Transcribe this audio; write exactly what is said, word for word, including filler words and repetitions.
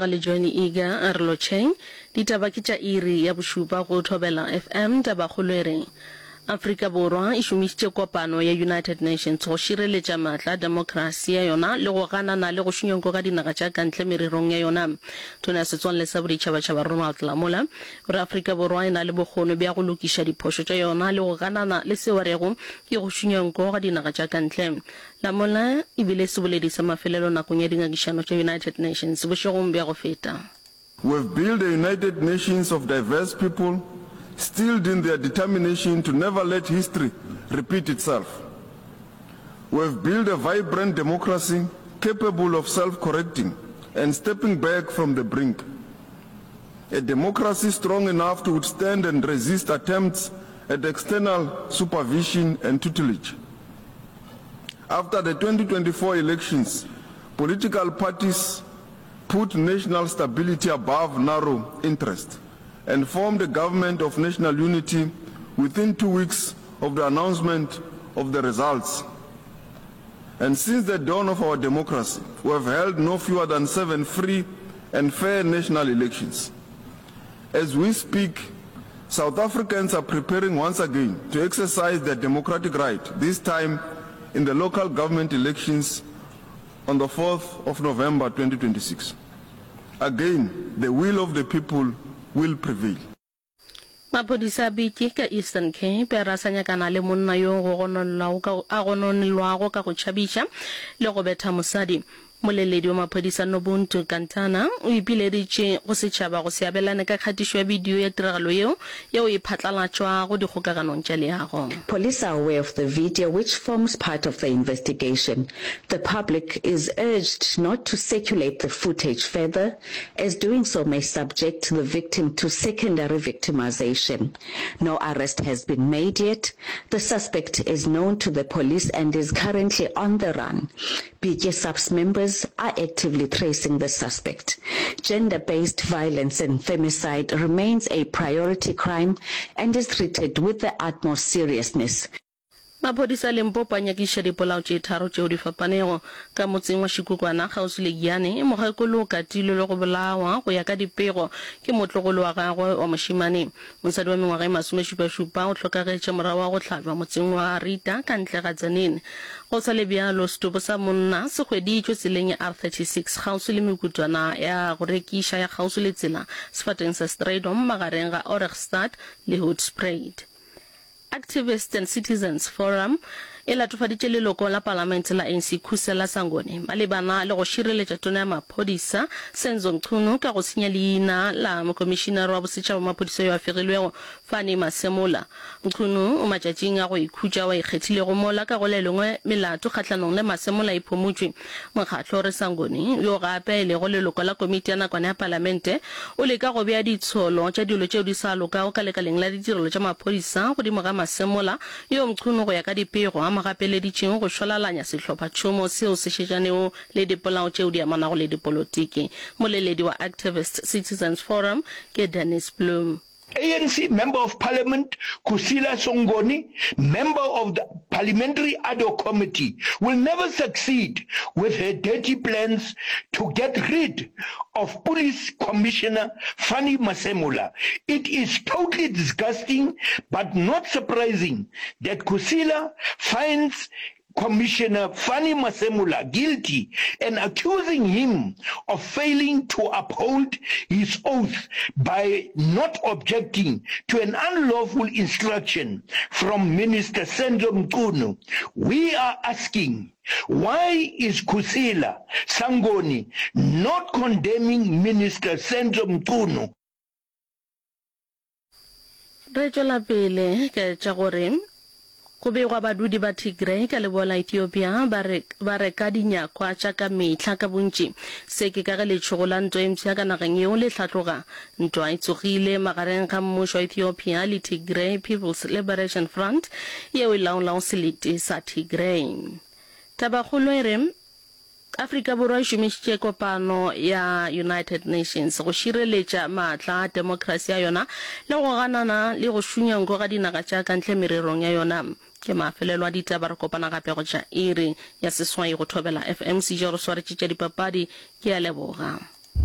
Le Johnny Eager a re lotšheng. Ditaba ke tša iri ya bošupa go Thobela FM. Tabakgolo e re, Afrika Borwa e šomišitše kopano ya United Nations go šireletša maatla a demokrasi ya yona le go ganana le go šunya nko ga dinaga tša ka ntle mererong ya yona. Tona ya Setswalle sa Boditšhabatšhaba Ronald Lamola o re Afrika Borwa e na le bokgoni bja go lokiša diphošo tša yona le go ganana le seo a rego ke go šunya nko ga dinaga tša ka ntle. Lamola e bile seboledi sa mafelelo nakong ya dingangišano tša United Nations bošegong bja go feta. We have built a United Nations of diverse people, steeled in their determination to never let history repeat itself. We have built a vibrant democracy capable of self-correcting and stepping back from the brink. A democracy strong enough to withstand and resist attempts at external supervision and tutelage. After the twenty twenty-four elections, political parties put national stability above narrow interest and formed a government of national unity within two weeks of the announcement of the results. And since the dawn of our democracy, we have held no fewer than seven free and fair national elections. As we speak, South Africans are preparing once again to exercise their democratic right, this time in the local government elections on the fourth of November twenty twenty-six. Again, the will of the people will prevail. Maphodisa a Bityi ka Eastern Cape a re a sa nyakana le monna yo go gononelwago ka a gononelwago ka go tšhabiša le go betha mosadi. Mmoleledi wa maphodisa Nobuntu Kantana o ipileditše go setšhaba go se abelane ka kgatišo ya bidio ya tiragalo yeo, yeo e phatlalatšwago dikgokaganong tša leago. Police are aware of the video which forms part of the investigation. The public is urged not to circulate the footage further as doing so may subject the victim to secondary victimization. No arrest has been made yet. The suspect is known to the police and is currently on the run. Bityi SAPS members are actively tracing the suspect. Gender-based violence and femicide remains a priority crime and is treated with the utmost seriousness. Maphodisa a Limpopo a nyakišiša dipolao tše tharo tšeo di fapanego. Ka motseng wa Shikukwana, kgauswi le Giyani, mokgekolo o katilwe le go bolawa go ya ka dipego ke motlogolo wa gagwe wa mošemane. Mosadi wa mengwaga e masomešupašupa o hlokagetše morago ga go hlabja motseng wa Rita ka ntle ga Tzaneen. Go sa le bjalo, setopo sa monna se hweditšwe tseleng ya R thirty six kgauswi le mekutwana ya go rekiša ya kgauswi le tsela sefateng sa Strydom magareng ga Ohrigstad le Hoedspruit. Activists and Citizens Forum e latofaditše leloko la palamente la A N C Khusela Sangoni malebana le go šireletša tona ya maphodisa Senzo Mchunu ka go senya leina la mokomišinare wa bosetšhaba wa maphodisa yo a fegilwego Fannie Masemola. Mchunu o matšatšing a go ikhutša wa ikgethilego mola ka go le lengwe melato kgahlanong le Masemola e phumotšwe. Mokgatlo o re Sangoni, yo gape e lego leloko la komiti ya nakwana ya palamente, o leka go bea ditsholo tša dilo tšeo di sa lokago ka lekaleng la ditirelo tša maphodisa godimo ga Masemola, yo Mchunu go ya ka dipego a mo gapeleditšego go šwalalanya sehlophatšhomo seo se šetšanego le dipolao tšeo di amanago le dipolotiki. Moleledi wa Activist Citizens Forum ke Dennis Bloem. A N C Member of Parliament Kusila Songoni, member of the Parliamentary Ad Hoc Committee, will never succeed with her dirty plans to get rid of Police Commissioner Fannie Masemola. It is totally disgusting but not surprising that Kusila finds Commissioner Fannie Masemola guilty and accusing him of failing to uphold his oath by not objecting to an unlawful instruction from Minister Senzo Mchunu. We are asking, why is Kusila Sangoni not condemning Minister Senzo Mchunu? Re tšwela pele ka tša gore go begwa badudi ba Tigray ka leboa la Ethiopia ba re ba reka dinyakwa tša ka mehla ka bontši. Se ke ka ge letšhogo la ntwa e mpsha ka nageng yeo le hlatloga. Ntwa e tsogile magareng ga mmušo wa Ethiopia le Tigray People's Liberation Front yeo e laolago selete sa Tigray. Tabakgolo e re Afrika Borwa e šomišitše kopano ya United Nations go šireletša maatla a demokrasi ya yona le go ganana le go šunya nko ga dinaga tša ka ntle mererong ya yona. Ke mafelelo a ditaba, re kopana gape go tša iri ya seswai go Thobela F M. Sejo re swaretše tša dipapadi. Ke a leboga.